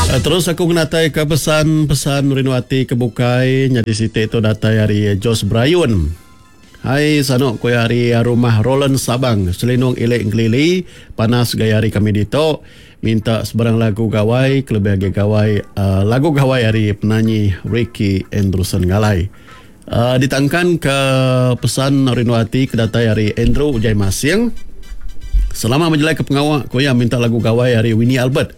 Terus aku ngenatai ke pesan-pesan rindu ati ke bukai nyadi siti tu datai ari Jos Brayun. Hai sanu ku iya ari rumah Roland Sabang Selinung Ili Engkelili panas gaya hari kami ditu minta sebarang lagu gawai kelebih agi gawai lagu gawai ari penanyi Ricky Andrewson Ngalai. Ditangkan ke pesan rindu ati ke datai ari Andrew Ujai Masing selama bejalai ke pengawa ku iya minta lagu gawai ari Winnie Albert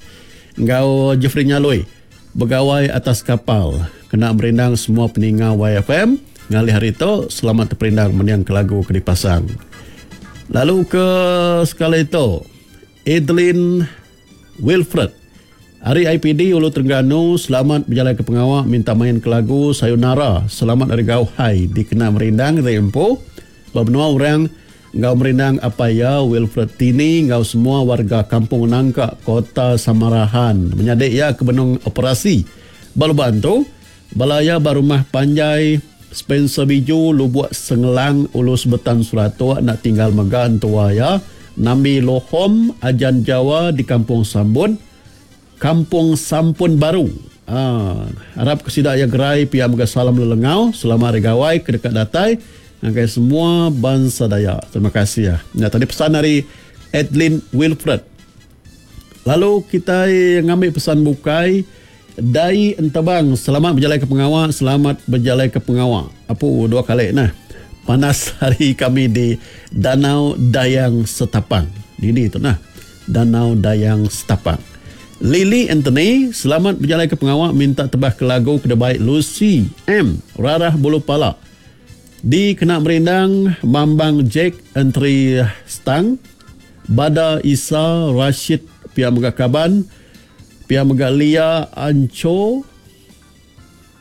enggau Jeffrey Nyaloi. Begawai atas kapal kena merindang semua peninga YFM ngalih hari tu selamat teperindang mending ke lagu ke dipasang. Lalu ke sekali tu Adeline Wilfred ari IPD Ulu Terengganu selamat bejalai ke pengawa minta main ke lagu Sayonara selamat ari Gauhai dikena merindang diri empu Ba menua orang enggau merindang apai iya Wilfred Tini enggau semua warga Kampung Nangka, Kota Samarahan menyadi iya ke benung operasi ba Lubok Antu. Bala iya ba rumah panjai Spencer Biju, Lubok Sengelang, Ulu Sebetan Seratok enda tinggal mega entua iya Nambi Lohom, Ajan Jawa di Kampung Sambun. Kampung Sampun Baru. Aa arap ke sida iya gerai pia mega salam lelengau selama hari gawai ke deka datai ngagai semua bansa Dayak. Terima kasih. Nya tadi pesan ari Adeline Wilfred. Lalu kitai ngambi pesan bukai Dai Entebang selamat bejalai ke pengawa selamat bejalai ke pengawa. Apu dua kali nah. Panas hari kami di Danau Dayang Setapang. Dini tu nah. Danau Dayang Setapak. Lily Anthony, selamat bejalaika pengawa minta tebah ke lagu ke dibai Lucy M. Rarah Bulu Pala. Dikena merindang Mambang Jack Entri Stang, Bada Isa Rashid pia mega kaban, pia mega Lia Ancho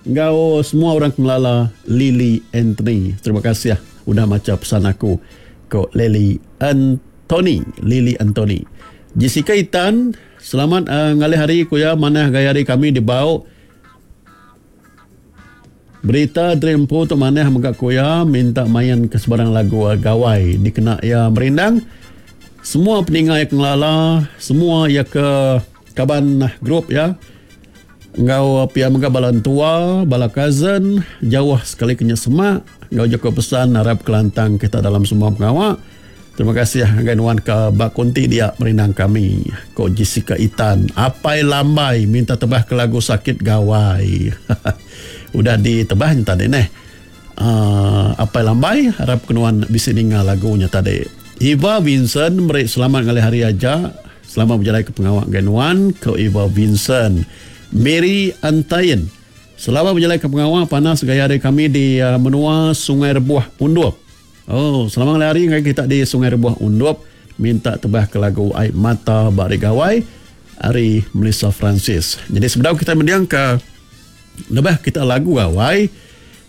enggau semua orang ke ngelala Lily Anthony. Terima kasih udah macha pesan aku, ku Lily Anthony. Tony, Lily Anthony. Jessica Itan, selamat ngalih hari ku iya manah gaya hari kami di Bau. Berita diri empu tu manah mega ku iya minta main ke sebarang lagu gawai dikena iya merindang semua peninga iya ke ngelala semua iya ke kaban group iya enggau pia mega bala entua, bala cousin jauh sekali ke nya semak enggau jaku pesan arap kelantang kita dalam semua pengawa. Terima kasih ngagai nuan ke ba konti dia merindang kami, ko Jessica Itan. Apai Lambai minta tebah ke lagu Sakit Gawai. Udah ditebah nya tadi neh. Uh, Apai Lambai harap ke nuan bisi ninga lagu nya tadi. Eva Vincent meri selamat ngalih hari aja. Selamat bejalai ke pengawa ngagai nuan, ko Eva Vincent. Mary Antain, selamat bejalai ke pengawa panas gaya hari kami di uh, menua Sungai Rebuh Undup. Oh, selamat ngalih hari ngagai kita di Sungai Rebuh Undup minta tebah ke lagu Ai Mata ba Hari Gawai ari Melissa Francis. Jadi sebedau kita mending ke nebah kita lagu gawai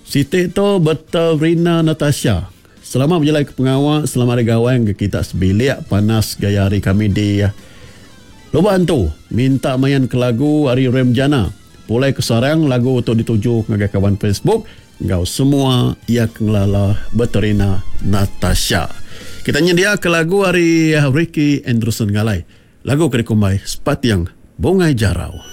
siti tu Beterina Natasha. Selamat bejalai ke pengawa, selamat hari gawai ngagai kita sebilik panas gaya hari kami di Lubok Antu minta main ke lagu ari Rem Jana. Pulai ke Sarang lagu tu dituju ngagai kaban Facebook. Enggau semua iya ke ngelala Beterina Natasha. Kita nyendiaka lagu ari Ricky Andrewson Ngalai. Lagu ke dikumbai Sepating Bungai Jarau.